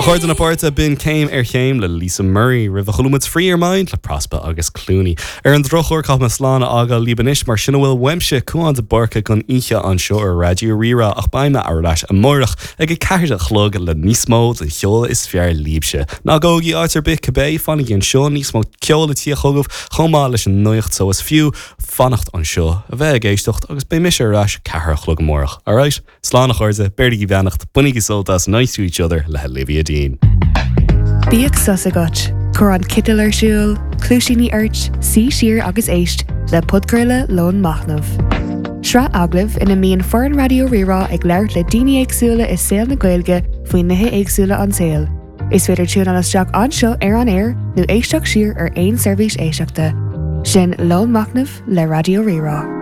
chairde na páirte, b'in Céim ar Chéim le Lisa Murray roimhe chuala muid Free Your Mind le Prospa agus Clooney. Ar an drochuair caithfidh mé slán a fhágáil libh anois mar sin a bhfuil uaimse, Cúán de Búrca don oíche anseo ar Raidió Rí-Rá ach beidh mé ar ais amárach ag 4 a chlog le níos mó den cheol is fearr libhse. Ná gabhaigí áit ar bith cibé, fanaigí anseo, níos mó ceoil ag tíocht chugaibh chomh maith leis an nuacht so is fiú fanacht anseo, a bheith ag éisteacht agus beidh mise ar ais 4 a chlog amárach. Alright? Slán a chairde, beirigí beannacht, bainigí sult as Nice to Each Other le Olivia Dean. Bíodh sos agat, cuir an citeal ar siúl, cluaisíní ort, suigh siar agus éist le podchraoladh Lón Machnaimh. Sraith agallamh ina mbíonn foireann Raidió Rí-Rá ag labhairt le daoine éagsúla i saol na Gaeilge faoi nithe éagsúla an tsaoil. Is féidir tiúnáil isteach anseo ar an aer nó éisteacht siar ar aon seirbhís éisteachta. Sin Lón Machnaimh le Raidió Rí-Rá.